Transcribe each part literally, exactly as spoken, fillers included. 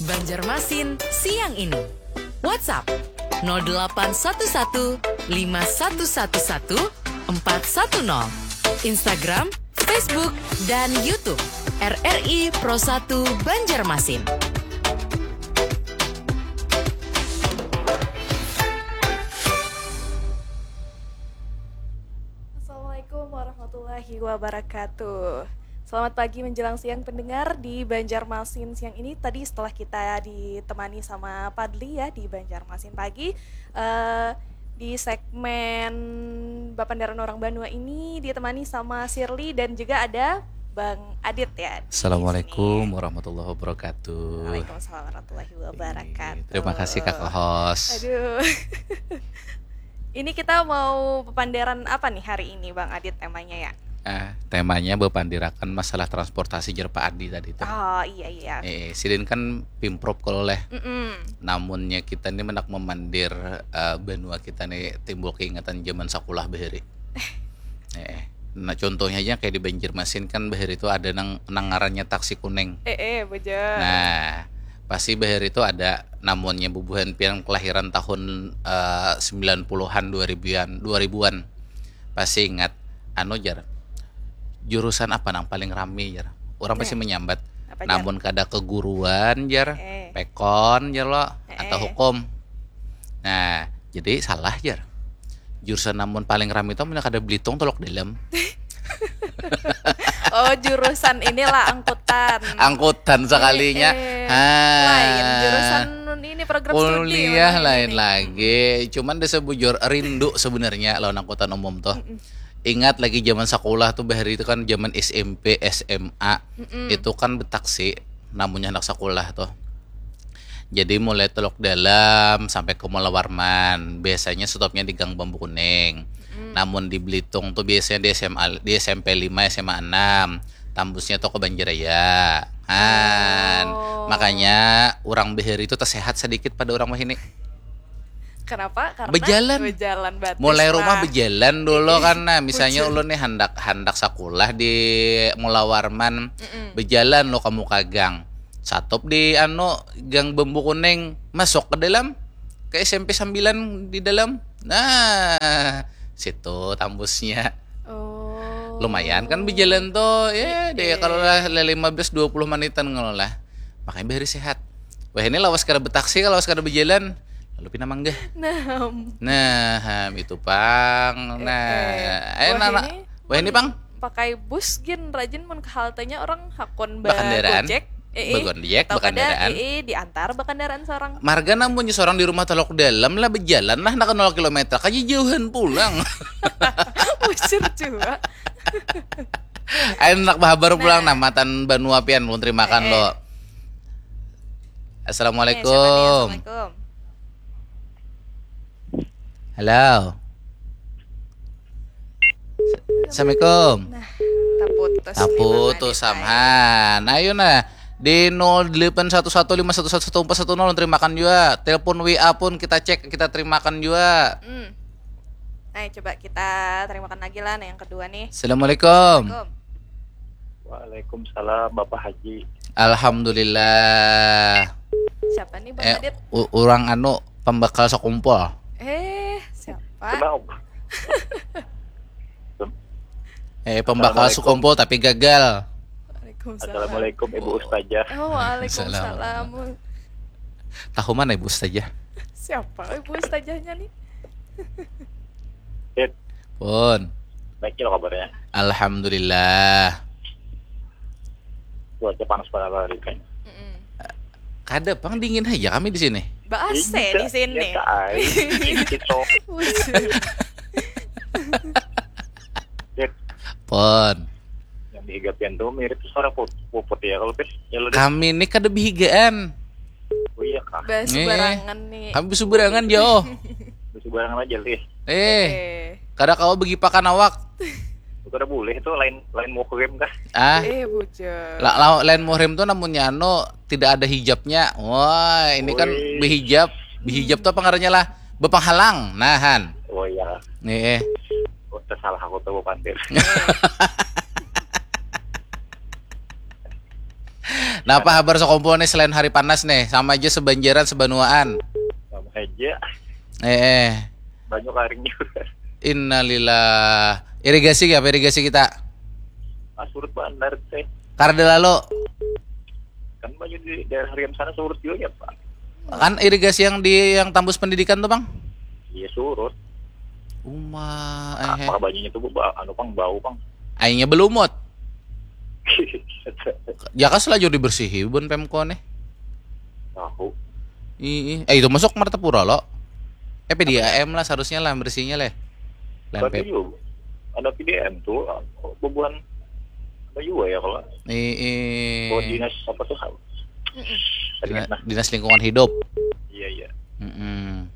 Banjarmasin siang ini. WhatsApp nol delapan satu satu lima satu satu satu empat satu nol. Instagram, Facebook, dan YouTube R R I Pro satu Banjarmasin. Assalamualaikum warahmatullahi wabarakatuh. Selamat pagi menjelang siang pendengar di Banjarmasin siang ini. Tadi setelah kita ditemani sama Padli ya di Banjarmasin pagi, eh, di segmen Bapandaran Orang Banua ini ditemani sama Shirley dan juga ada Bang Adit ya di Assalamualaikum sini. Warahmatullahi wabarakatuh. Waalaikumsalam warahmatullahi wabarakatuh. Terima kasih, Kakak Host. Aduh. Ini kita mau papandaran apa nih hari ini, Bang Adit, temanya ya? Eh, temanya bepandirakan masalah transportasi, jar Pak Adi tadi tuh. Oh, iya, iya. Eh, sidin kan pimprov kalau leh. Mm-mm. Namunnya kita nih mendak memandir, eh, banua kita nih timbul keingatan zaman sakulah bahari. Eh, nah, contohnya aja kayak di Banjarmasin kan bahari itu ada nang, nang ngarannya taksi kuning. Eh, eh, beja. Nah, pasti bahari itu ada, namunnya bubuhan pian kelahiran tahun, eh, sembilan puluhan, dua ribuan, dua ribuan. Pasti ingat, anu, jar, jurusan apa nang paling rami, jar? Orang pasti menyambat, apa, jar? Namun kada keguruan, jar, eh, pekon, jar lo, eh, atau eh, hukum. Nah, jadi salah, jar. Jurusan namun paling rami itu amun kada Belitung, Teluk Dalam. Oh, jurusan inilah angkutan. Angkutan sekalinya. Eh, eh. Ha. Lain jurusan nun ini, program studi kuliah mana lain ini? Lagi. Cuman desa bujur rindu sebenarnya lawan angkutan umum tuh. Mm-mm. Ingat lagi zaman sekolah tuh, bahari itu kan zaman S M P, S M A. Mm-mm. Itu kan betaksi, namunnya anak sekolah tuh. Jadi mulai Teluk Dalam sampai ke Mula Warman, biasanya stopnya di Gang Bambu Kuning. Mm. Namun di Belitung tuh biasanya di S M A, di S M P lima, S M A enam. Tambusnya tuh ke Banjaraya. Han. Oh. Makanya orang bahari itu tersehat sedikit pada orang wahini. Kenapa? Karena bejalan. Bejalan batis. Mulai rumah lah. Bejalan dulu kan. Nah, misalnya ulun nih handak, handak sakulah di Mula Warman, mm-mm, bejalan lo kamu ka gang. Satup di, anu, Gang Bambu Kuning, masuk ke dalam, ke S M P sembilan di dalam. Nah, situ tambusnya. Oh. Lumayan kan bejalan tuh. Ya, deh, eh, kalau lah, lah lima belas dua puluh menitan kalau lah. Makanya bahari sehat. Wah, ini lawas kada betaksi, lawas kada bejalan. Lalu pina manggah. Nah. Nah, ham, itu pang. Eh, nah, eh. Eh, wah, nah, ini wah, ini pang. Pakai bus gin rajin mun ke haltenya orang hakun ba-, bakandaraan, Gojek. Eh, eh. Bagojek, atau kada, bakandaraan. Eh, eh, diantar bakandaraan seorang. Marga namunnya seorang di rumah Teluk Dalam lah, bejalan lah nak nol kilometer. Kaji jauhan pulang. Usir juga. Ayo nak bahabar pulang. Nah. Nah, matan banua pian, ulun terimakan, eh, eh, lo. Assalamualaikum. Eh, siapa nih? Assalamualaikum. Halo. Assalamualaikum. Nah, taputus nih, Bang Adit, samhan. Ayo nah, di nol delapan satu satu lima satu satu satu empat satu nol, terimakan jua. Telepon W A pun kita cek, kita terimakan jua. Hmm. Nah, coba kita terimakan lagi lah, nah, yang kedua nih. Assalamualaikum. Assalamualaikum. Waalaikumsalam, Bapak Haji. Alhamdulillah. Siapa nih, Bang Adit? Eh, u-, urang anu, pembakal sakumpul. Eh, siapa? Kenapa? Eh, pembakal sakumpul tapi gagal. Waalaikumsalam. Assalamualaikum, Ibu Ustazah. Oh, waalaikumsalam. Salam. Tahu mana Ibu Ustazah? Siapa Ibu Ustazahnya nih? Dit. Pun. Baik lo kabarnya? Alhamdulillah. Cuaca panas pada hari kan. Mm-mm. Kada pang, dingin aja kami di sini. Ba A C di sini. Iya, tak ai. Dingin, cok. Bujur. Dit. Pun. Yang dihiga pian tuh mirip suara put-, puput ya kalau pis. Ya lo, Dit. Kami ini kada bihigaan. Oh iya kah? Basubarangan nih. Kami basubarangan jauh. Basubarangan aja, Lih. Eh, eh, kada kawa begipakan awak. Kada boleh tuh, lain, lain muhrim kah? Ah. Eh, bujur. La-, la-, lain muhrim tuh namunnya anu, tidak ada hijabnya. Wah, ini kan, wih, behijab. Behijab tuh apa ngarannya lah? Bepenghalang. Nahan. Oh iya. Nih, eh. Oh, tersalah aku tuh, Pandir. Napa habar sakumpul nih selain hari panas nih? Sama aja sebanjaran sebanuaan. Sama aja. Eh, eh. Banyu karing juga. Innalillah. Irigasi apa irigasi kita? Ah, surut bandar teh. Karda lalu. Kan banyu di daerah Riam sana surut juga ya, Pak. Kan irigasi yang di yang tambus pendidikan tuh, Bang? Iya, surut. Uma, eh. Apa banyunya tuh, Bu? Ba- anu, Bang, bau, Bang. Aingnya belumut. Jaka selajur dibersihi bun Pemko nih. Tahu. Ih, eh itu masuk Martapura lo. Eh P D A M lah seharusnya lah bersihnya leh. Lain Tapi P- juga ada P D M tuh, bubuhan apa juga ya kalau Ih, ih. kalau dinas apa tuh? Tadi Dina- nah, dinas lingkungan hidup. Iya, iya. Mm-mm.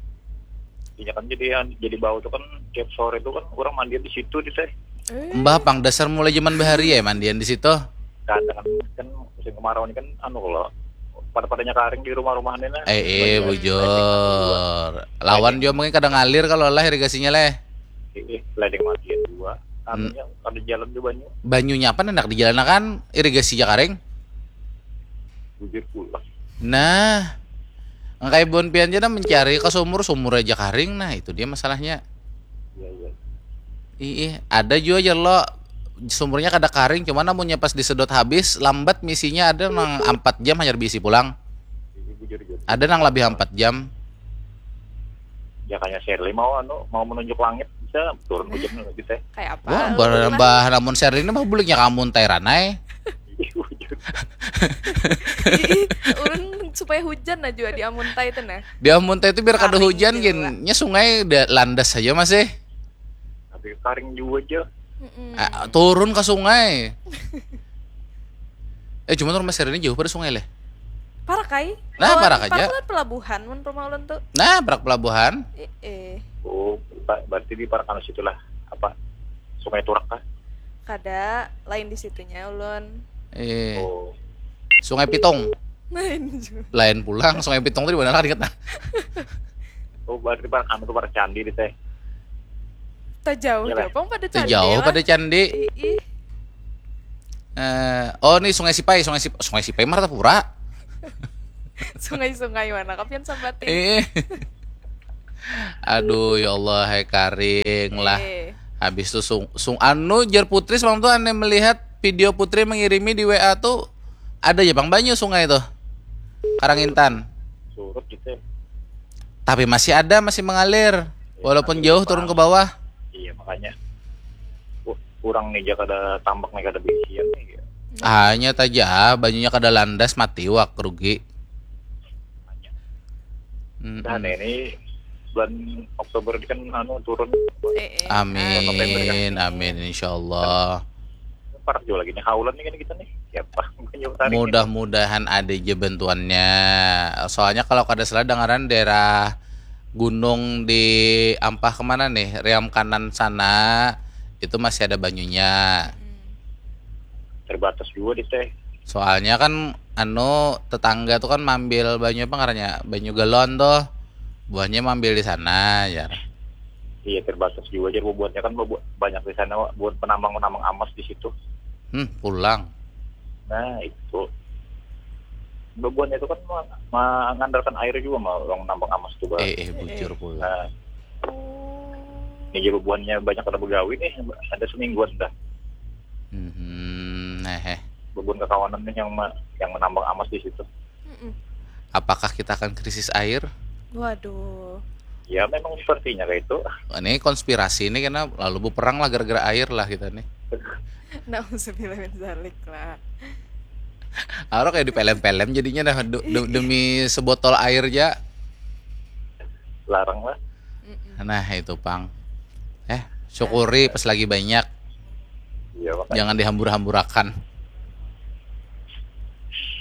Iya kan, jadi yang jadi bau tuh kan tiap sore tuh kan orang mandian di situ di teh. Mbah pang dasar mulai zaman bahari ya mandian di situ. Kadang kan, kan musim kemarau ini kan anu kalau pada-padanya karing di rumah-rumahnya nah. Eh, eh, bujur. Lawan juga mungkin kadang ngalir kalau lah irigasinya leh. Eh, eh, lading mandian dua. Anunya ada jalan juga banyu. Banyunya apa hendak dijalanakan irigasi ja karing? Bujur pula. Nah, engkai bun pian aja dah mencari ke sumur, sumur aja karing. Nah, itu dia masalahnya. Iya, iya. Ih, ih, ada juga aja lo sumurnya kada karing, cuman namunnya pas disedot habis lambat misinya ada nang empat jam hanyar bisi pulang. Ini bujur juga. Ada nang lebih empat jam. Ya kayaknya Shirley mau anu mau menunjuk langit bisa turun hujan gitu teh. Kayak apa? Wah, bah, bah namun Shirley ini mah buliknya kamu tai ranai. Iya, bujur. Ih, ulun supaya hujan aja di Amuntai itu nah. Di Amuntai itu biar kada Karing hujan juga. Gin. Nya sungai da- landas saja masih. Tapi karing juga aja. Mm-mm. Ah, turun ke sungai. Eh cuma rumah Shirley ini jauh pada sungai leh. Parak kai? Nah, Lawan parak aja. Parak lawan pelabuhan mun rumah ulun tuh. Nah, parak pelabuhan. Eh, eh. Oh, ba- berarti di Parak anu situlah apa? Sungai Turak kah? Kada, lain di situnya ulun. Eh, Oh, Sungai Pitung. Lain juga. Lain pulang, Sungai Pitung tadi mana kan ingat nah. Oh, berarti Parak anu tuh Parak Candi di teh. Tak jauh Iyalah. jauh pang pada Itu candi jauh lah. pada candi. Ih, ih. Eh, oh, ini Sungai Sipai, Sungai Sipai, Sungai Sipai Martapura. Sungai-sungai mana kapian sambatin. Eh. Aduh, ya Allah, hai karing lah. Eh, Habis itu sung, sung anu jar Putri semalam tuh aneh melihat video Putri mengirimi di W A tuh ada aja bang banyu sungai tuh. Karangintan. Surut gitu. Tapi masih ada, masih mengalir. Walaupun jauh turun ke bawah. Iya, makanya. Wah, kurang nih, kada tambak nih, kada bisian nih. Ya. Hanya taja banyunya kada landas mati wak rugi. Makanya. Mm-mm. Nah, ini bulan Oktober ini kan anu turun. eh, eh. Amin, amin, insyaallah. Parak juga lagi nih haulan nih kan kita nih. Siapa? Banyu tarik nih. Mudah-mudahan ada aja bantuannya. Soalnya kalau kada salah dengaran daerah gunung di ampah kemana nih, Riam kanan sana itu masih ada banyunya. Hmm. Terbatas juga di teh. Soalnya kan anu tetangga tuh kan mambil banyu apa ngarannya banyu galon tuh buahnya mambil di sana ya. Iya, terbatas juga aja bubuhannya kan bu- banyak di sana buat penambang-penambang amas di situ. Hmm, pulang. Nah, itu. Bubuhannya itu kan ma- mengandalkan air juga mah orang nambang amas tuh, Bang. Eh, eh bujur pulang. Nah, Oh. ini aja bubuhannya banyak kada begawi nih, ada semingguan dah. Hmm, nah, eh. Bubuhan kakawanan nih yang ma- yang menambang amas di situ. Mm-mm. Apakah kita akan krisis air? Waduh. Ya memang sepertinya kayak itu. Ini konspirasi ini karena lalu berperang lah gara-gara air lah kita nih. Nauzubillah min zalik lah. Aro kayak di film-film jadinya dah du- du- demi sebotol air aja. Larang lah. Mm-mm. Nah, itu pang. Eh, syukuri pas lagi banyak. Iya, makanya. Jangan dihambur-hamburakan.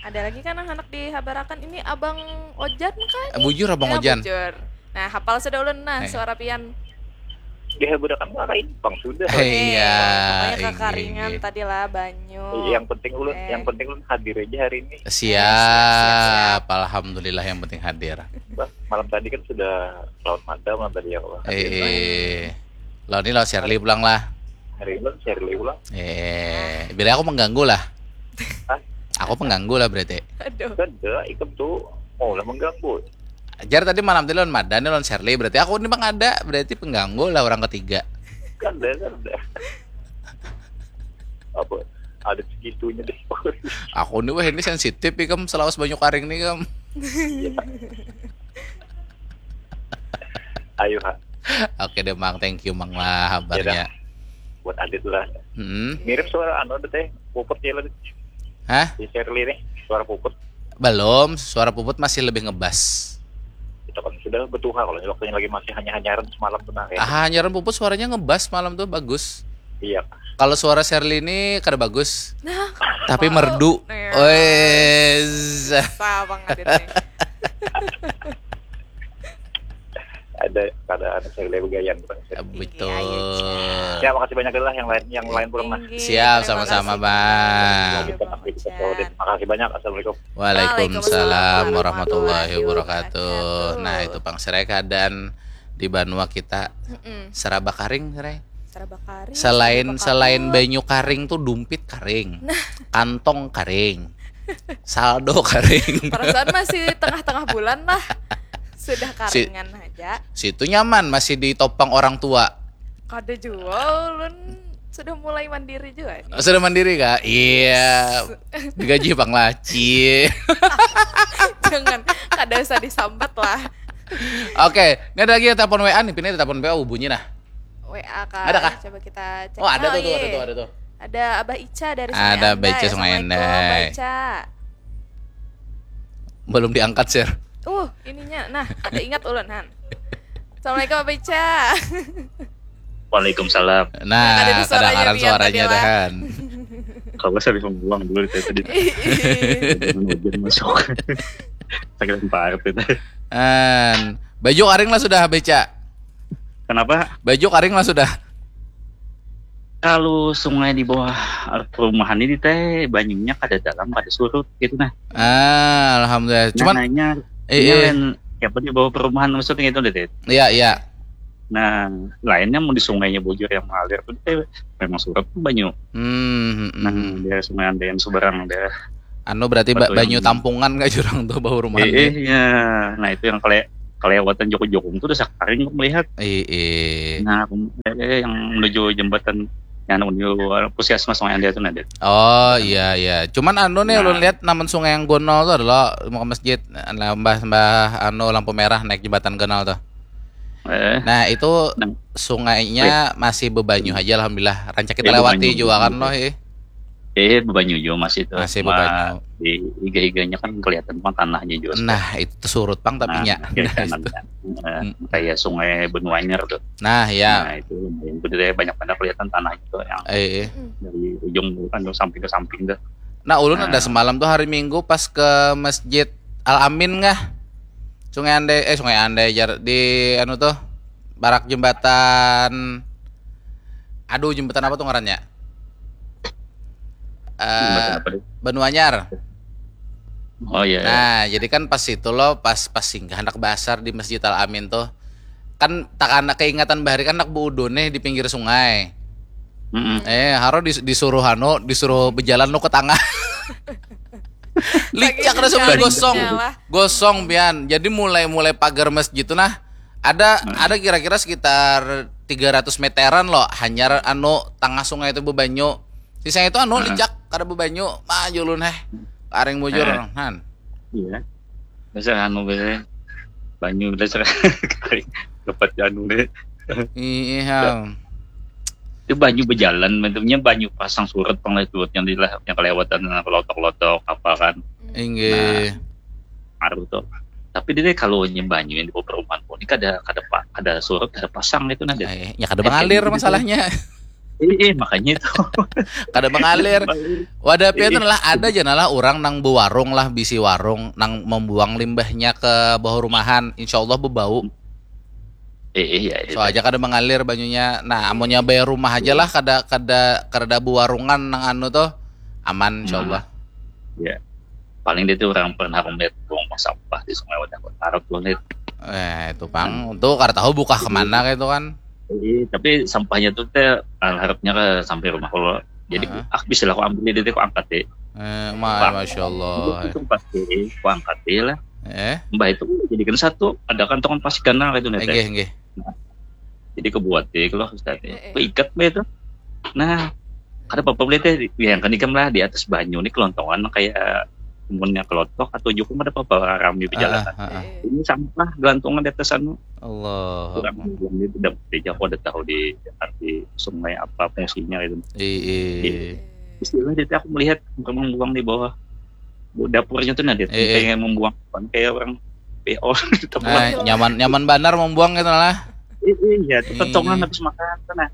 Ada lagi kan anak dihabarakan ini Abang Ojan kan? Eh, bujur Abang Ya, Ojan. Bujur. Nah, hafal sudah ulun nah Eh. suara pian. Dia budak kan lah kayak Ipang sudah. Eh, iya, Pokoknya iya, kakaringan iya. Tadi lah banyu. Iya, yang penting ulun, Eh. yang penting ulun hadir aja hari ini. Siap, alhamdulillah yang penting hadir. Bah, malam tadi kan sudah lawan mata malam tadi ya Allah. Eh, lawan ini lawan Shirley pulang lah. Hari ini kan Shirley ulang. Eh, bila aku mengganggu lah. Hah? Aku pengganggu lah berarti. Aduh. Kada, ikam tuh mau lah mengganggu. Jar tadi malam tadi lawan Madan lawan Sherly, berarti aku ini mangada, berarti pengganggu lah orang ketiga. Kada, kada. Apa? Ada segitunya deh. Aku nih wah ini sensitif ikam selawas banyu karing nih kam. Ayo ha, Oke deh Mang, thank you Mang lah kabarnya. Buat Adit lah. Hmm. Mirip suara anu ada teh, Puput ya lah. Hah? Si Sherly nih, suara Puput. Belum, suara Puput masih lebih ngebas. Itu kan sudah betuha kalau waktunya lagi masih hanya hanyaran semalam tuh nah ya. Ah, hanyaran Puput suaranya ngebas malam tuh bagus. Iya. Kalau suara Sherly ini kada bagus, Nah, tapi apa? Merdu. Nah, Wes. Apa Mang Adit nih? Ada ada ada Sherly begayan bukan Sherly. Betul. Iya, iya, Ya makasih banyak lah yang lain yang lain pulang lah. Tinggi. Siap, Terima sama-sama, kasih, Bang. Bang Ican. Makasih banyak. Assalamualaikum. Waalaikumsalam Waalaikumsalam warahmatullahi warahmatullahi wabarakatuh. wabarakatuh. Nah, itu pang serai keadaan di banua kita Mm-mm. seraba karing, serai. Serba karing. Selain serba selain kaput. Banyu karing tuh dumpit karing. Kantong karing. Saldo karing. Perasaan masih tengah-tengah bulan lah. Sudah Si- karingan aja. Situ nyaman masih ditopang orang tua. Kada jua ulun sudah mulai mandiri juga nih. Sudah mandiri kah? Iya. Digaji pang laci. Jangan, kada usah disambat lah. Oke, ini ada lagi yang telepon W A nih, pina telepon W A bunyi nah. W A kah? Ada kah? Coba kita cek. Oh, ada tuh, tuh, iya. ada tuh, ada tuh. Ada Abah Ica dari Ada Abah Ica Sungai Assalamualaikum, Andai. Abah Ica. Belum diangkat, share. Uh, ininya. Nah, ada ingat ulun, Han. Assalamualaikum, Abah Ica. Waalaikumsalam. Nah, Ada suaranya, kedengaran Rian, suaranya tadi lah. Dahan. Kalau saya bisa ngulang dulu dari tadi. Jangan hujan masuk. Sakit parah itu. An, baju karing lah sudah beca. Kenapa? Baju karing lah sudah. Kalau sungai di bawah perumahan ini teh banyunya kada dalam, kada surut gitu nah. Ah, alhamdulillah. Cuman Nah, nanya, eh, ini eh, lain siapa di bawah perumahan maksudnya gitu deh. iya iya. Nah, lainnya mau di sungainya bujur yang mengalir tuh teh memang surut tuh banyu. Hmm, hmm, Nah, hmm. Daerah Sungai Andai seberang daerah. Anu berarti ba- Betul, banyu yang- tampungan kah jurang tuh bawah rumah Eh, eh, ya. Nah, itu yang kele kelewatan jokong-jokong tuh udah sakaring aku melihat. Eh, eh. Nah, aku- eh, yang menuju jembatan yang menuju puskesmas Sungai Andai itu nah, Dit. Oh iya iya. Cuman anu nih Nah. ulun lihat namun sungai yang gonol tuh adalah muka masjid. Nah, mbah mbah anu lampu merah naik jembatan gonol tuh. Eh, Nah itu Nang- sungainya masih bebanyu aja alhamdulillah. Rancak kita Iya, lewati bebanyu. juga kan loh eh. eh bebanyu juga masih itu. Masih Cuma bebanyu. Di iga-iganya kan kelihatan mah tanahnya juga. Nah itu surut pang tapinya. Nah, kiri kanan, eh, kayak sungai Benuanyar tuh. Nah ya. Nah, itu lumayan gede, banyak banget kelihatan tanah itu yang Eh, eh. dari ujung anu samping ke samping tuh. Nah ulun ada Nah. semalam tuh hari Minggu pas ke masjid Al Amin nggah. Sungai Andai eh Sungai Andai jar di anu tuh barak jembatan. Aduh jembatan apa tuh ngarannya? Eh Jembatan apa tuh? Benuanyar. Oh iya. Nah, jadi kan pas itu loh, pas pas singgah anak basar di Masjid Al Amin tuh, kan tak anak keingatan bahari kan anak buudu nih di pinggir sungai. Mm-mm. Eh, haro dis- disuruh anu, disuruh berjalan lo ke tengah. Licak Saking ada semua mencarinya gosong, lah. Gosong pian. Jadi mulai mulai pagar masjid tuh nah ada ada kira-kira sekitar tiga ratus meteran loh, hanyar anu tengah sungai itu bebanyu. Sisa itu anu licak kada bebanyu, mah julun heh. Karing bujur Eh. Han. Iya. Biasa anu biasa banyu biasa dapat anu deh. Iya. Itu banyu berjalan, maksudnya banyu pasang surut pang lah itu yang di yang kelewatan lotok-lotok apa kan Inggih. Aru tuh. Tapi dia kalau nya banyu yang di bawah perumahan pun ini kada kada pa- kada surut kada pasang itu nah. Eh, ya kada mengalir Gitu. Masalahnya. Eh, eh makanya itu. Kada mengalir. Wadah pian adalah ada aja nalah orang nang bewarung lah bisi warung nang membuang limbahnya ke bawah rumahan. Insya Allah bebau. Eh, eh ya itu. Soalnya kada mengalir banyunya. Nah, amunnya bayar rumah aja lah kada kada kada bewarungan nang anu tuh aman insya Allah. Ya. Paling dia tuh orang pernah aku melihat buang sampah di Sungai Wadah Kota Arab tuh lihat. Eh, itu pang. Tuh kada tahu buka kemana kayak itu kan. Iya, tapi sampahnya tuh teh harapnya ke sampai rumah kalau jadi Heeh. aku bisa lah aku ambil dia tuh aku angkat deh. Eh, ma, masya Allah. Itu pasti kuangkat lah. Eh, mbah itu jadikan satu, ada kantongan plastik ganal itu nih, teh. Enggih, enggih. Jadi kebuat deh kalau Ustaz. Eh, eh. Keikat be itu. Nah, kada apa-apa boleh teh, bayangkan ikam lah di atas banyu nih, kelontongan kayak umurnya kelotok atau jukung, ada apa-apa rami berjalan. Ah, ah, ah. Ini sampah gelantungan di atas anu. Allah. Kurang bilang dia tidak, dia jago ada tahu di arti sungai apa fungsinya gitu. Iya. Istilah dia, aku melihat orang membuang di bawah dapurnya tuh, nah, dia pengen membuang, bukan kayak orang P O gitu. Nah, nyaman, nyaman banar membuang gitu lah. Iya, itu kentongan habis makan tuh, nah.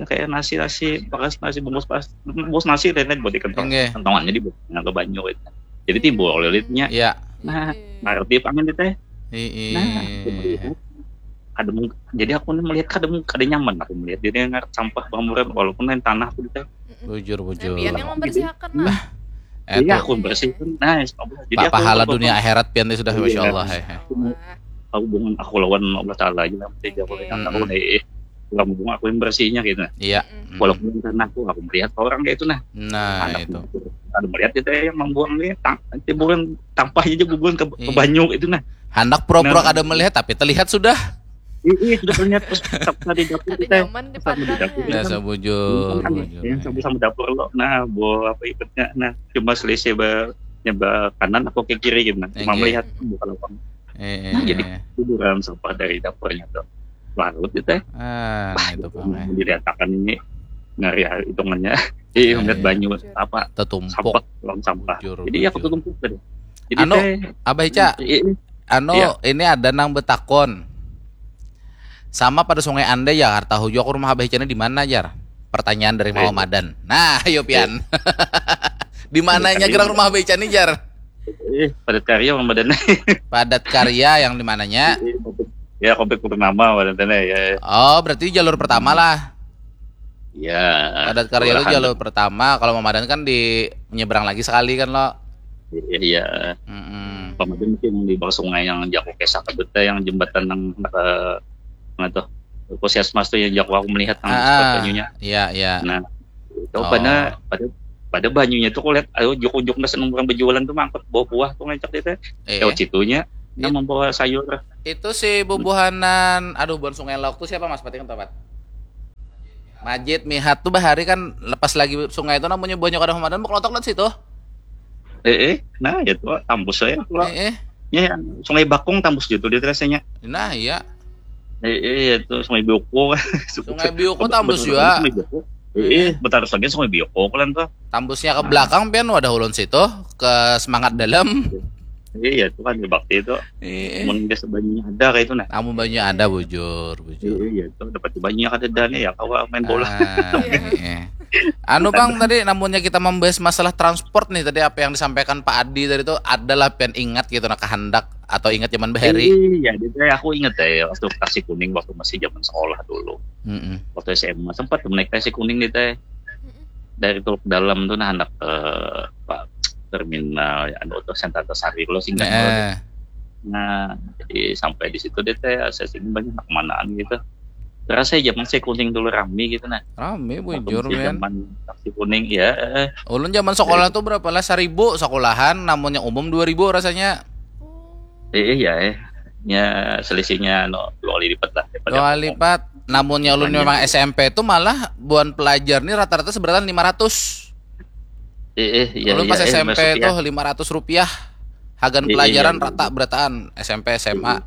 Kayak nasi, nasi, bekas nasi, bungkus pas, bungkus nasi, lain-lain buat di kentong. Kentongannya di bawah, ke banyu gitu. Jadi timbul lilitnya. Iya. Nah, ngerti pangan teh. Iya. Nah, aku melihat, kada mung-, jadi aku nih melihat kada mung-, kada nyaman aku melihat dia ngarep sampah bamuran, walaupun lain tanah aku teh. Bujur, bujur. Pian yang membersihakan lah. Iya, aku bersihkan. Nah, insya Allah. Jadi pahala dunia akhirat pian sudah, masya Allah. Hubungan aku lawan Allah Taala aja lah, tidak boleh kata aku nih, eh, orang bunga aku yang bersihnya gitu. Iya. Walaupun karena aku, aku melihat orang kayak itu, nah. Nah, itu. Ada melihat itu yang membuang nih, timbulan tampah aja bubuhan ke banyu itu, nah. Handak pura-pura kada melihat, tapi terlihat sudah. Iya, sudah terlihat pas tadi dapur kita. Nyaman di Padang. Ya, sabujur. Yang sama-sama dapur lo. Nah, bawa apa ikutnya? Nah, cuma selisih ba-, nyebar kanan atau ke kiri gitu, nah. Cuma melihat buka lubang. Nah, jadi kuburan sampah dari dapurnya tuh. Larut itu, teh. Ah, itu pang. Dilihatakan ini ngari hitungannya. Iya, ngeliat banyu apa? Tetumpuk. Sampah, lubang sampah. Jadi ya, ketumpuk tadi. Jadi anu, teh, Abah Ica, anu, ini ada nang betakon. Sama pada Sungai Andai ya, kada tahu jua aku rumah Abah Ica ini di mana, jar. Pertanyaan dari Mama Madan. Nah, ayo pian. Di mananya gerang rumah Abah Ica ini, jar? Eh, Padat Karya, Mama Madan. Padat Karya yang di mananya? Ya, Komplek Purnama, Mama Madan, ya. Oh, berarti jalur pertama lah. Iya. Padat Karya itu jalur pertama. Kalau Mama Madan kan di menyeberang lagi sekali kan, lo. Iya, iya. Mm-mm. Mama Madan mungkin di bawah sungai yang jago kisah kabut, yang jembatan yang ke, mana tuh? Puskesmas tuh yang jago aku melihat yang spot banyunya. Iya, iya. Nah, itu pada, pada, pada banyunya tuh aku lihat, ayo, ujuk-ujuk nggak seneng orang berjualan tuh mangkut bawa buah tuh ngecek dia teh. Lewat situnya, yang membawa sayur. Itu si bubuhanan, aduh, buhan Sungai Lauk tuh siapa, Mas? Pati kan tempat. Majid, Mihat tuh bahari kan lepas lagi sungai itu namanya buahnya kada Mama Madan, bekelotok lihat situ. Eh, eh, nah, ya tuh, tambus saya tuh. Eh, eh. Ya, yang Sungai Bakung tambus gitu dia rasanya. Nah, iya. Eh, eh, ya tuh, Sungai Bioko. Sungai Bioko tambus juga. Sungai Bioko. Eh, eh, betarus lagi Sungai Bioko kan tuh. Tambusnya ke belakang pian wadah ulun situ, ke Semangat Dalam. Iya, itu kan bakti itu. Iya. Mun biasa banyunya ada kayak itu, nah. Namun banyunya ada, bujur, bujur. Iya, itu dapat banyunya kada ada nih ya, kawa main bola. Ah, iya. Anu, Bang, tadi namunnya kita membahas masalah transport nih, tadi apa yang disampaikan Pak Adi tadi tuh, adalah pian ingat gitu, nah, kehendak atau ingat zaman bahari? Iya, jadi aku ingat ya, waktu taksi kuning waktu masih zaman sekolah dulu. Mm-mm. Waktu S M A sempat naik taksi kuning nih, teh. Dari Teluk Dalam tuh, nah, hendak ke, apa, terminal, ya, anu tuh, Sentra Antasari lo, singkat. Nah, jadi sampai di situ deh, teh, saya sini banyak anak manaan gitu. Terasa ya zaman saya kuning dulu rame gitu, nah. Rame, bujur, men. Zaman taksi kuning, ya. Ulun zaman sekolah tuh berapa lah, seribu sekolahan, namunnya umum dua ribu rasanya. Eh, iya, eh. Ya, selisihnya, no, dua kali lipat lah daripada umum. Dua kali lipat. Namunnya ulun memang S M P tuh malah buan pelajar nih rata-rata seberatan lima ratus. Eh, eh, iya, ulun pas S M P tuh lima ratus rupiah. Hagan pelajaran rata berataan S M P, S M A.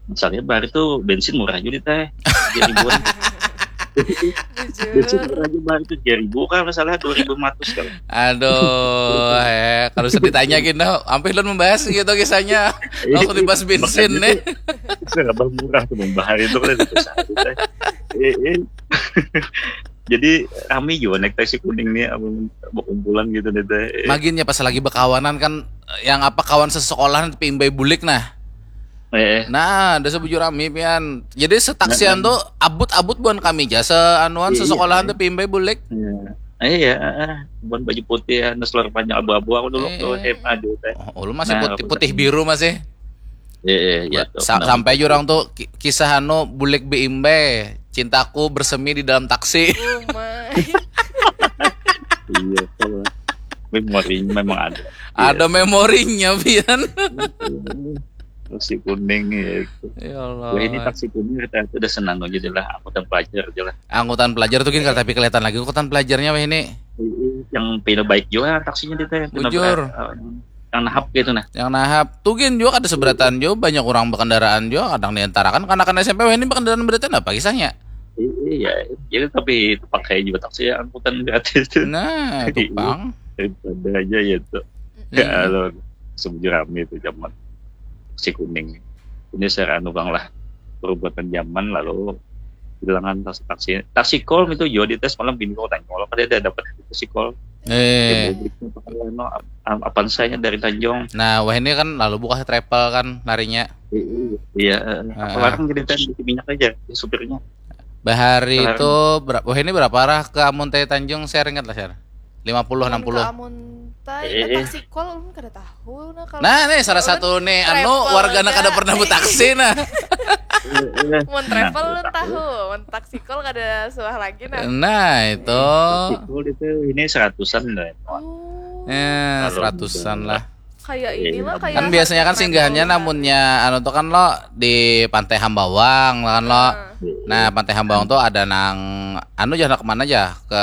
Masalahnya baru tuh bensin murah juga, teh. Tiga ribuan. Bensin murah juga baru tuh tiga ribu kan, masalah dua ribu lima ratus kan. Aduh, eh, kalau sudah ditanya gini, hampir ulun membahas gitu kisahnya. Langsung dibahas bensin nih. Sudah murah tuh membahas itu kan, itu satu, teh. Eh, eh. Jadi rame juga naik taksi kuning nih, amun berkumpulan gitu nih, teh. Maginnya pas lagi berkawanan kan, yang apa, kawan sesekolahan tapi imbai bulik, nah. Eh, eh. Nah, ada sebujur rame pian. Jadi setaksian tuh abut-abut buan kami ja, seanuan, iya, sesekolahan tapi imbai bulik. Iya. Eh, iya, eh, eh. Buan baju putih, anu, selor panjang abu-abu aku dulu tuh, eh, S M A dulu, teh. Oh, ulun masih putih, putih biru masih. Iya, iya, iya, tuh. Sampai jurang tuh ki-, kisah anu, bulik beimbai, cintaku bersemi di dalam taksi. Oh my. Iya, tuh. Memorinya memang ada. Ada memorinya, Pian. Taksi kuning ya itu. Ya Allah. Wah, ini taksi kuning kita itu udah senang aja deh lah. Angkutan pelajar aja lah. Angkutan pelajar tuh gin, tapi kelihatan lagi angkutan pelajarnya weh ini. Yang pina baik juga taksinya di teh. Pina Bujur. ber- eh, yang nahap gitu nah. Yang nahap tuh gin juga ada seberatan juga, banyak orang berkendaraan juga, kadang diantarakan karena kan S M P weh ini berkendaraan beratan apa kisahnya? Iya, jadi tapi pakai juga taksi ya, angkutan gratis tuh. Nah, itu pang. Ada aja ya tuh. Ya lo sebujur rame itu zaman taksi kuning. Ini saya anu bang lah, perubatan zaman lalu bilangan taksi taksi taksi kol itu juga di tes malam bini kau tanya kalau kada ada dapat taksi kol. Eh, Publiknya pakai anu, ap- ap- apaan saya dari Tanjung. Nah, wah ini kan lalu buka travel kan larinya. Iya, eh, Ah. Apa larang jadi teh isi minyak aja di supirnya. Bahari Sekarang- itu berapa? Wah ini berapa arah ke Amuntai Tanjung? Saya ingat lah, share. lima puluh, enam puluh. Amuntai, Eh. eh, taksi kol ulun kada tahu nah kalau Nah, nih salah ulun satu nih anu travel wargana aja. Kada pernah bertaksi nah. Mun travel ulun tahu, mun taksi kol kada suah lagi nah. Nah, itu. Taksi kol itu ini seratusan deh. Oh, Eh, Kalau seratusan udah lah. Kayak Iya. inilah kayak Kan biasanya kan Haji singgahannya Maimunah. Namunnya anu tuh kan lo di Pantai Hambawang kan lo. Nah, Nah, Pantai Hambawang tuh ada nang anu aja, anak mana aja ke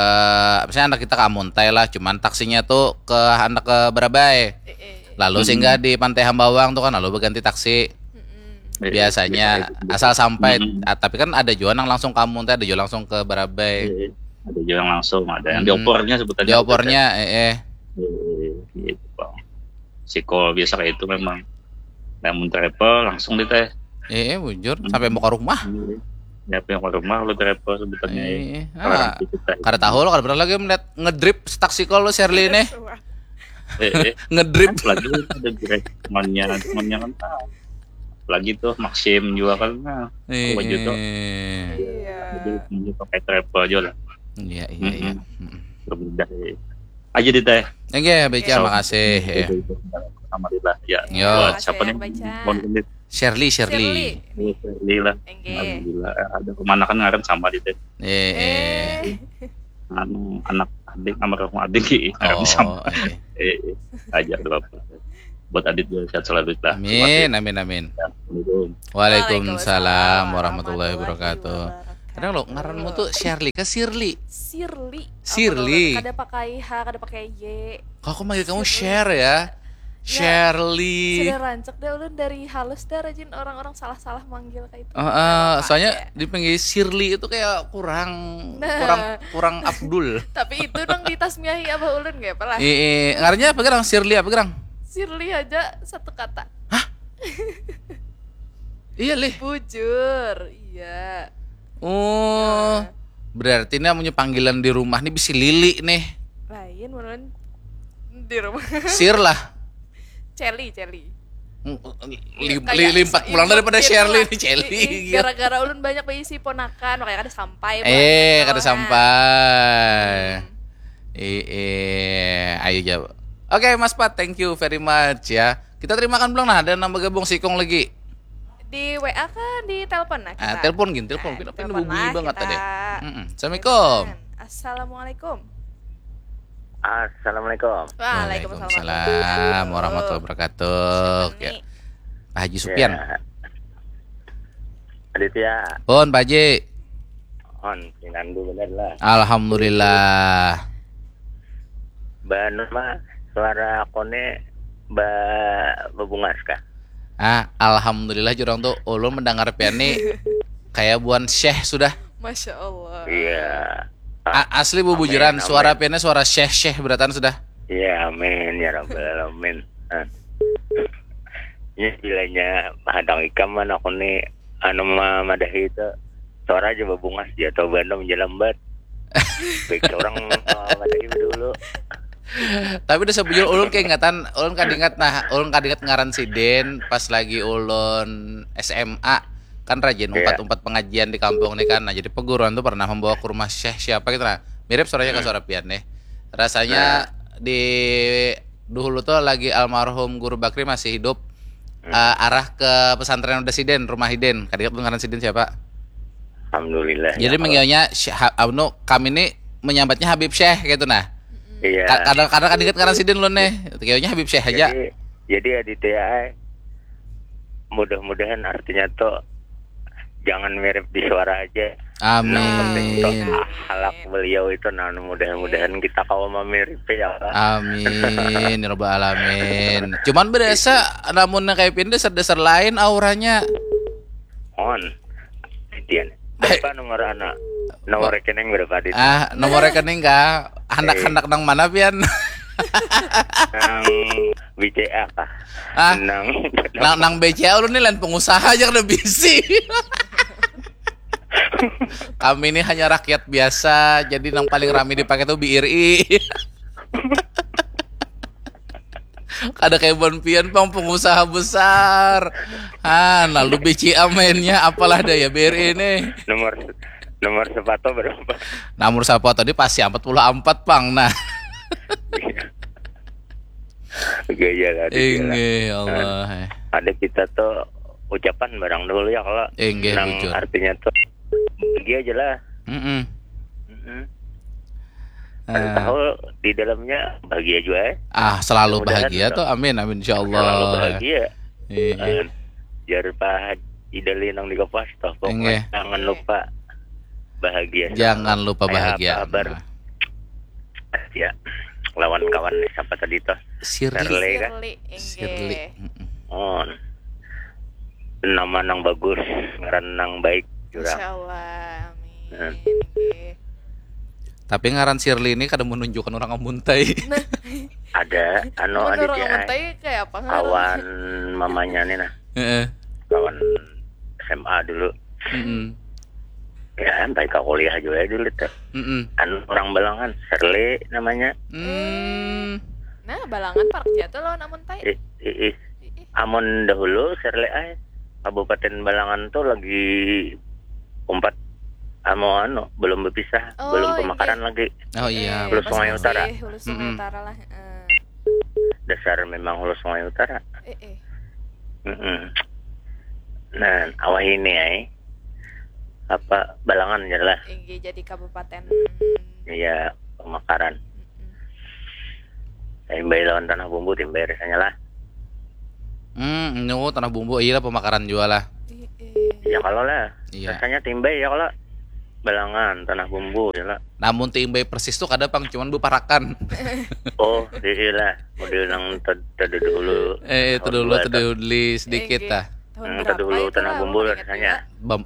misalnya anak kita ke Amuntai lah, cuman taksinya tuh ke anak ke Barabai. eh, eh. Lalu Hmm. singgah di Pantai Hambawang tuh kan lalu berganti taksi. Mm-mm. Iya, Biasanya biasa itu. asal sampai Hmm. ah, tapi kan ada juga nang langsung ke Amuntai, ada juga langsung ke Barabai. Iya, ada juga yang langsung, ada yang Hmm. diopornya sebutannya. Diopornya eh eh. Iya, gitu bang. Si kol biasa kayak itu memang. Nah, mun travel langsung di teh. Eh, eh bujur sampai mau ke rumah. Ya, yang ke rumah lu travel sebutannya. Eh, eh. Orang Ah, kita. kada tahu lo, kada pernah lagi melihat ngedrip taksi kol lo Shirley nih. Eh, eh. Ngedrip. Lagi ada direct temannya, temannya kan tahu. Lagi tuh Maxim juga kan nah. Eh, Apa gitu? eh. Iya. Jadi ini pakai travel aja lah. Iya, iya, iya. Mm-mm. Berbeda. Aja di teh. Oke, Beca, So- makasih. Eh. Alhamdulillah ya. Yo. Buat siapa Makasih, nih? Beca. Mohon izin. Shirley, Shirley. Shirley. Iya, Shirley lah. Enggak. Alhamdulillah. Eh, Ada kemanakan ngaran sama di teh. Eh, eh. Eh, Anu anak adik sama rumah adik ngaran sama. Oh, eh. Eh, eh, aja ada apa. Buat Adit juga sehat selalu lah. Amin, amin, amin. Assalamualaikum. Waalaikumsalam warahmatullahi wabarakatuh. Kadang lo ngaranmu tuh Shirley ke Shirley. Shirley. Shirley. Apa kalau kada pakai H, kada pakai Y. Kok aku manggil kamu Shirley. Share ya? Shirley. Sudah rancak deh ulun dari halus deh rajin orang-orang salah-salah manggil kayak itu. Heeh, Apa soalnya ya? Dipanggil Shirley itu kayak kurang Nah. kurang kurang afdul. Tapi itu nang ditasmiahi abah ulun gak apa lah. Eh, eh, ngarannya apa gerang? Shirley apa gerang? Shirley aja satu kata. Iya lih. Bujur, iya. Oh, berarti ini namanya panggilan di rumah nih bisi Lili nih. Lain ulun di rumah. Sir lah. Celi, Celi. Li- li- limpat pulang daripada Shirley nih, Celi. Gara-gara ulun banyak baisi ponakan, makanya kada sampai. Eh, kada sampai. Eh, eh, ayo jawab. Oke, Mas Pat, thank you very much ya. Kita terimakan belum nah, ada nang bergabung sikung lagi. Di W A kan di telepon nah kita. Ah, telepon gin, telepon. Kenapa ini bunyi banget tadi? Mm-mm. Assalamualaikum. Assalamualaikum. Assalamualaikum. Waalaikumsalam. Waalaikumsalam warahmatullahi wabarakatuh. Siapa Ya. nih? Pak Haji Supian. Ya. Aditya, Pun Pak Haji. on pinandu bener lah. Alhamdulillah. Banu mah suara kone ba bebungas kah? Ah, alhamdulillah jurang tuh ulun mendengar pian nih kayak buan syekh sudah. Masya Allah. Iya. A- asli bubujuran Amin, suara amin. Piannya suara syekh-syekh beratan sudah. Iya, amin ya rabbal alamin. Ah. Ini bilanya mahadang ikam man aku nih anu ma- madahi itu suara aja babungas dia atau bandung jalambat. Baik orang uh, madahi dulu. Tapi udah sebujur ulun keingatan, ulun kadingat nah, ulun kadingat ngaran sidin pas lagi ulun S M A kan rajin Iya. umpat-umpat pengajian di kampung nih kan. Nah, jadi peguruan tuh pernah membawa ke rumah syekh siapa gitu nah. Mirip suaranya ke suara pian nih. Rasanya di dulu tuh lagi almarhum Guru Bakri masih hidup eh, arah ke pesantren udah sidin, rumah hidin. Kadingat ngaran sidin siapa? Alhamdulillah. Jadi ya, manggilnya Syekh Ha- anu kami ini menyambatnya Habib Syekh gitu nah. Iya. Ka- kadang-kadang kan ingat ngaran sidin lo nih. Kayaknya Habib Syekh aja. Jadi, jadi Aditya ai, mudah-mudahan artinya tuh jangan mirip di suara aja. Amin. Yang penting tuh akhlak beliau itu, nah, mudah-mudahan kita kawa mamiripi ya Allah. Amin ya rabbal alamin. Cuman berasa namun kayak pindah dasar-dasar lain auranya. On. Dian. Berapa nomor anak? Nomor rekening berapa di? Ah, nomor rekening kah? Handak-handak nang mana pian? Nang B C A kah? Ah, nang nang nang B C A ulun nih lain pengusaha aja kada bisi. Kami ini hanya rakyat biasa, jadi nang paling rami dipakai tuh B R I. Kada kayak bon pian pang pengusaha besar. Ah, lalu B C A mainnya apalah daya B R I ini. Nomor nomor sepatu berapa? Nomor sepatu tadi pasti empat puluh empat pang nah. Gaya lah. Inggih Allah. Ada kita tuh ucapan barang dulu ya kalau inggih, nang bujur. Artinya tuh dia aja lah. Mm-mm. Mm-mm. Ada tahu di dalamnya bahagia juga ya. Ah, selalu mudahan bahagia tuh. Amin, amin, insya Allah. Selalu bahagia. Iya. Jar Pak Idali nang di Kapuas toh, pokoknya jangan lupa bahagia. Jangan lupa bahagia. Kabar. Nah. Ya, lawan kawan nih siapa tadi tuh? Sirli. Sirli kah? Sirli. Oh, nama nang bagus, ngaran nang baik jurang. Insya Allah, amin. Tapi ngaran Sirli ini kada menunjukkan orang Amuntai. Ada anu Aditya. Orang Amuntai kayak apa? Kawan mamanya nih nah. Heeh. Kawan S M A dulu. Mm-mm. Ya, sampai ke kuliah juga dulu tuh. Mm-mm. Anu orang Balangan, Sirli namanya. Hmm. Nah, Balangan parak jatuh lawan Amuntai. Ih, ih, ih. Amun dahulu Sirli ai, Kabupaten Balangan tuh lagi umpat anu, anu belum berpisah, oh, belum pemakaran lagi. Oh iya. Hulu Sungai Utara. Hulu Sungai Utara lah. Dasar memang Hulu Sungai Utara. Eh, eh. Mm-mm. Nah, awah ini ai. Apa Balangan jelas. Inggih jadi kabupaten. Iya, pemakaran. Timbai lawan Tanah Bumbu, Timbai rasanya lah. Hmm, nyu Tanah Bumbu iya lah pemakaran juga lah. Iya kalau lah. Iya. Rasanya Timbai ya kalau Balangan, Tanah Bumbu ya lah. Namun Timbai persis tuh kada pang cuman beparakan. Oh, iya lah. Model nang tadi dulu. Eh, itu dulu tadi dulu sedikit lah. Tahun berapa itu lah, Tanah Bumbu rasanya.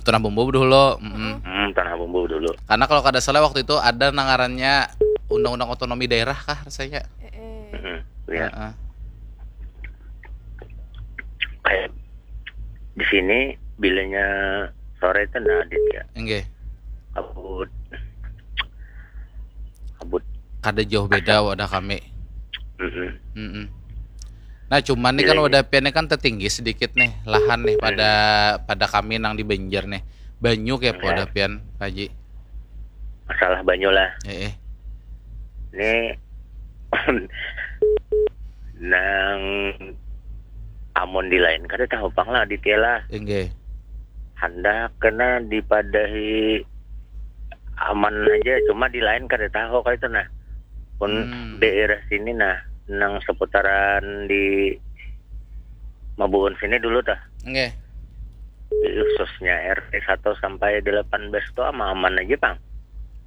Tanah Bumbu dulu. Hmm, Tanah Bumbu dulu. Karena kalau kada salah waktu itu ada nangarannya undang-undang otonomi daerah kah rasanya. Iya. Kayak di sini bilanya sore itu nah Aditya. Inggih. Kabut. Kabut. Kada jauh beda wadah kami. Mm-mm. Nah, cuman nih kan wadah pian kan tertinggi sedikit nih lahan nih pada pada kami nang di Banjar nih. Banyu kayak wadah pian, Pak Haji. Masalah banyu lah. Heeh. Ini nang amun di lain kada tahu pang lah Aditya lah. Inggih. Handak kena dipadahi aman aja, cuma di lain kada tahu kayak itu nah. Pun daerah sini nah, nang seputaran di Mabuun sini dulu tah. Inggih. Khususnya R T satu sampai delapan belas tuh aman-aman aja pang.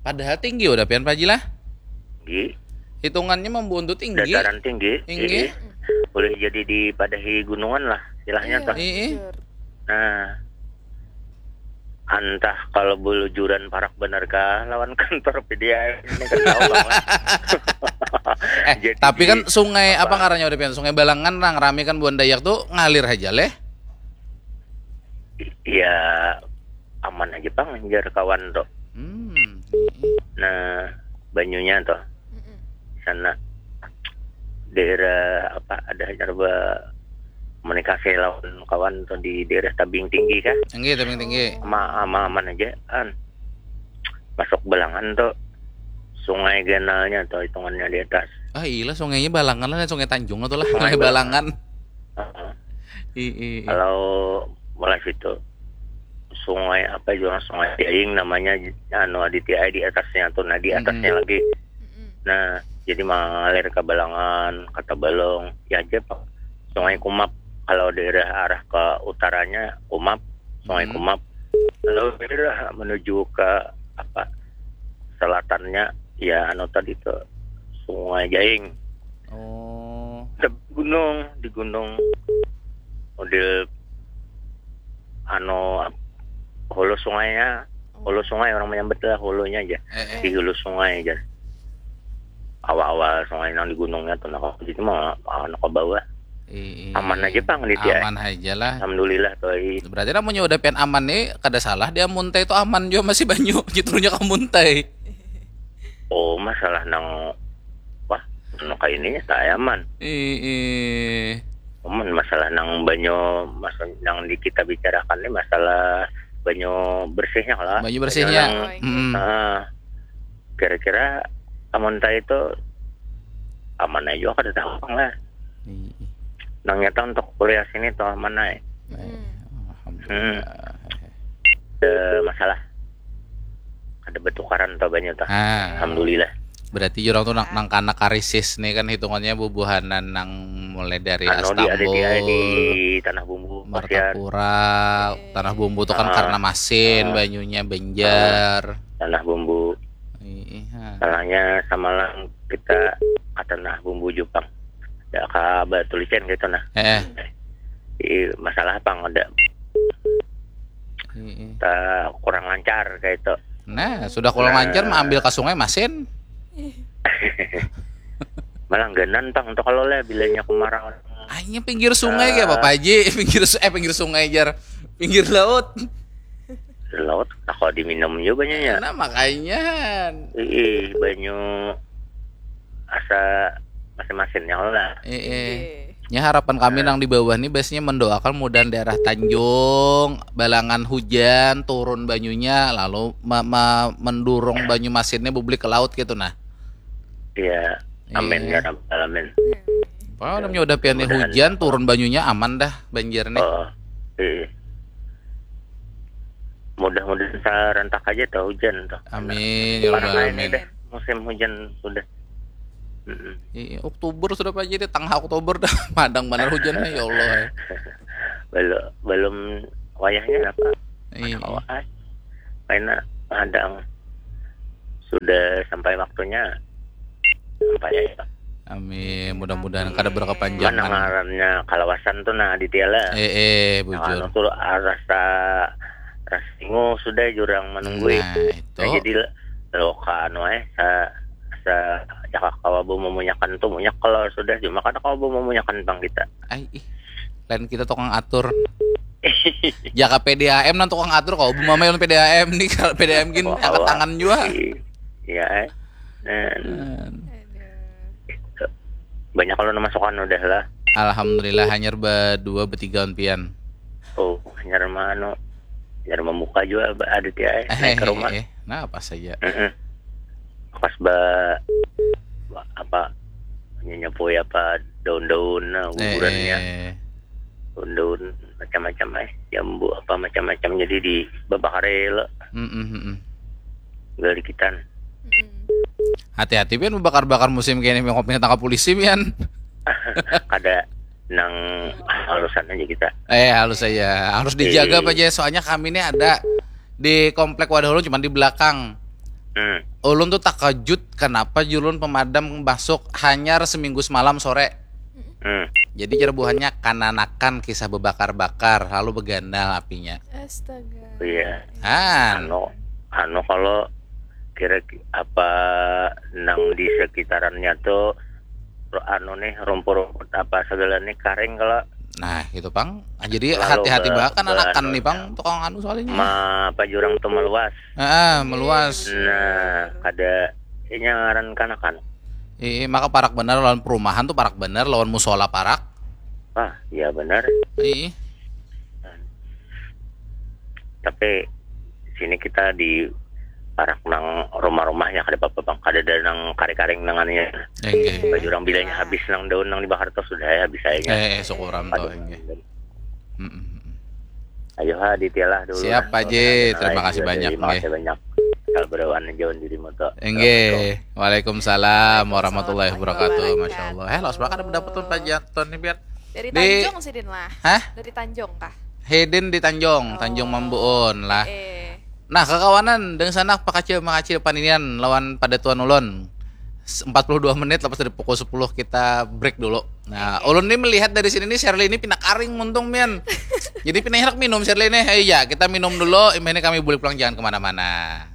Padahal tinggi udah pian Pak Haji lah. Tinggi. Hitungannya Mabuun tuh tinggi. Dataran tinggi. Tinggi. Boleh jadi dipadahi gunungan lah istilahnya tuh. Iya. Nah, antah kalau belujuran parak benar kah lawan kantor P D A M ini kan tahu lah. Eh, tapi kan sungai apa ngarannya udah pian? Sungai Balangan nang rame kan buan Dayak tuh ngalir aja leh. Ya aman aja pang jar kawan tuh. Hmm. Nah, banyunya tuh sana daerah apa ada hanya coba komunikasi lawan kawan tuh di daerah Tabing Tinggi kah? Tinggi, Tabing Tinggi. Ama ama aman aja kan. Masuk Balangan tuh sungai ganalnya tuh hitungannya di atas. Ah iya, sungainya Balangan lah, Sungai Tanjung atau lah, Sungai Balangan. Iya. Kalau mulai situ sungai apa juga Sungai Jaing namanya anu Aditya di atasnya tuh, nah di atasnya lagi. Nah, Jadi mengalir ke Balangan, ke Tabalong, ya aja Pak. Sungai Kumap, kalau daerah arah ke utaranya Kumap, Sungai Hmm. Kumap. Kalau daerah menuju ke apa selatannya, ya anu tadi tuh Sungai Jaing. Oh. Di gunung, di gunung model anu ap- hulu sungainya, hulu sungai orang menyebut lah hulunya aja. Eh, eh. Di hulu sungai aja. Awal-awal sungai nang di gunungnya tuh, nah kalau di situ mah anu ke bawah. Iya. Aman aja, Pang, di dia. Aman aja lah. Alhamdulillah tuh. Berarti lamunnya udah pian aman nih, kada salah dia muntai itu aman juga masih banyu, jitrunya ke muntai. Oh, masalah nang wah, anu kayak ininya saya aman. Ih, Cuman masalah nang banyu, maksud nang di kita bicarakan ini masalah banyu bersihnya lah. Banyu bersihnya. Nang, Mm-mm. ah, kira-kira amun tadi itu aman aja juga kada tahu lah. Ih, Nang nyata untuk kuliah sini tuh aman aja. eh, Hmm. Alhamdulillah. Ada masalah. Ada bertukaran tuh banyu tuh. Ah, Alhamdulillah. Berarti jurang tuh nang, nang kana karisis nih kan hitungannya bubuhanan nang mulai dari Anu di ada di, di Astambul, Tanah Bumbu, Pasiat, Martapura, Tanah Bumbu tuh kan Ah. karena masin Ah. banyunya Banjar. Tanah Bumbu. Iya. Salahnya samalam kita ke Tanah Bumbu Jepang. Ya ke Batu Licin gitu nah. Eh, Di masalah apa ada iya. kita kurang lancar kayak itu. Nah, sudah kurang Nah. lancar mah ambil ke sungai masin. Malah genan Pang tuh kalau lah bilanya kemarau. Hanya pinggir sungai ya Bapak Haji, pinggir su- eh pinggir sungai jar. Pinggir laut. Laut tak kalau diminum juga banyaknya. Nah, makanya. Ih, banyu asa masing-masingnya lah. Eh, eh. Iya. Ya harapan kami nang di bawah nih biasanya mendoakan mudahan daerah Tanjung, Balangan hujan, turun banyunya, lalu me- me- mendurung banyu masinnya bublik ke laut gitu nah. Iya. Amin Iya. Ya rabbal alamin. Wah, namanya udah pian nih Mudahan. Hujan, turun banyunya aman dah banjir nih. Oh, iya. Mudah-mudahan serentak aja tuh hujan tuh. Amin ya Parah rabbal ini alamin. Deh, musim hujan sudah. Mm-mm. Iya, Oktober sudah Pak Haji, tengah Oktober dah madang benar hujannya ya Allah. Belum belum wayahnya apa? Iya. Awal. Karena madang sudah sampai waktunya sampai ya. Amin, mudah-mudahan kada Mana berkepanjangan. ngarannya kalawasan tuh nah Aditya lah. Eh, eh, Nah, anu bujur. tuh rasa rasa singu sudah jurang menunggui. Nah, itu. Nah, jadi lo ka anu eh sa sa jaka kawa bu memunyakan tuh munyak kalau sudah cuma kada kawa bu memunyakan bang kita. Ai, ih. Lain kita tukang atur. Jaka P D A M nang tukang atur kau bu mama yang P D A M nih kalau P D A M gin Wah, angkat wah. Tangan jua. Iya eh. Dan Hmm. Aduh. banyak kalau masukan udah lah. Alhamdulillah hanyar berdua bertiga pian. Oh, nyar anu nyar membuka juga ba- Aditya eh, Eh, naik ke eh, rumah. Eh, nah apa saja. Heeh. Pas ba ba- apa nyapu apa daun-daun nah Eh, gugurannya eh. Daun-daun macam-macam eh jambu apa macam-macam jadi di babakar lo. Mm, mm, mm, mm. Galikitan. Mm-mm. Hati-hati pian bakar-bakar musim kene mengkop tangkap polisi pian. Kada nang halusan aja kita. Eh halus saja, harus dijaga Iya. Pak Jaya. Soalnya kami ini ada di komplek Wadah Ulun cuman di belakang. Hmm. Ulun tuh takajut kenapa julun pemadam masuk hanyar seminggu semalam sore. Hmm. Jadi cerbuhannya kananakan kisah bebakar-bakar lalu beganal apinya. Astaga. Iya. Han. Anu anu kalau kira apa nang di sekitarannya tuh anu nih rumput-rumput apa segala nih karing kalau Nah, gitu pang. Ah, jadi Lalu hati-hati ke- banget kan ke anakan anu nih pang tukang anu soalnya. ma apa jurang tuh meluas. Ah, meluas. Nah, kada ini ngaran kanakan. Ih, maka parak benar lawan perumahan tuh parak benar lawan musola parak. Ah, iya benar. Ih, Tapi sini kita di parak nang rumah-rumahnya kada apa-apa bang. Kada ada nang karing-karing nangannya. enggak. Baju orang bilanya habis nang daun nang dibakar tuh sudah ya habis aja. Eh, syukuran tuh enggak. Mm-mm. Ayo ha Aditya lah dulu. Siap, lah. Pak Ji. Oke, Terima lain kasih juga banyak, dari- Makasih nggih. Banyak. Kabar wan jauh dirimu tuh. Inggih. Waalaikumsalam warahmatullahi Warahmatullahi wabarakatuh. Masya wabarakatuh. Allah. Eh, lawas banget ada mendapatkan panjatan nih, Biat. Dari Di- Tanjung sidin lah. Hah? Dari Tanjung kah? Hidin di Tanjung, Tanjung Mambuun lah. Eh. Nah, kakawanan dengan sanak pakacil mangacil paninian lawan pada tuan ulun. S- empat puluh dua menit lepas dari pukul sepuluh kita break dulu. Nah, ulun nih melihat dari sini nih Shirley ini pina karing muntung mian. Jadi pina hendak minum Shirley nih. Eh, ya, kita minum dulu. Imbah ini kami bulik pulang, jangan kemana-mana.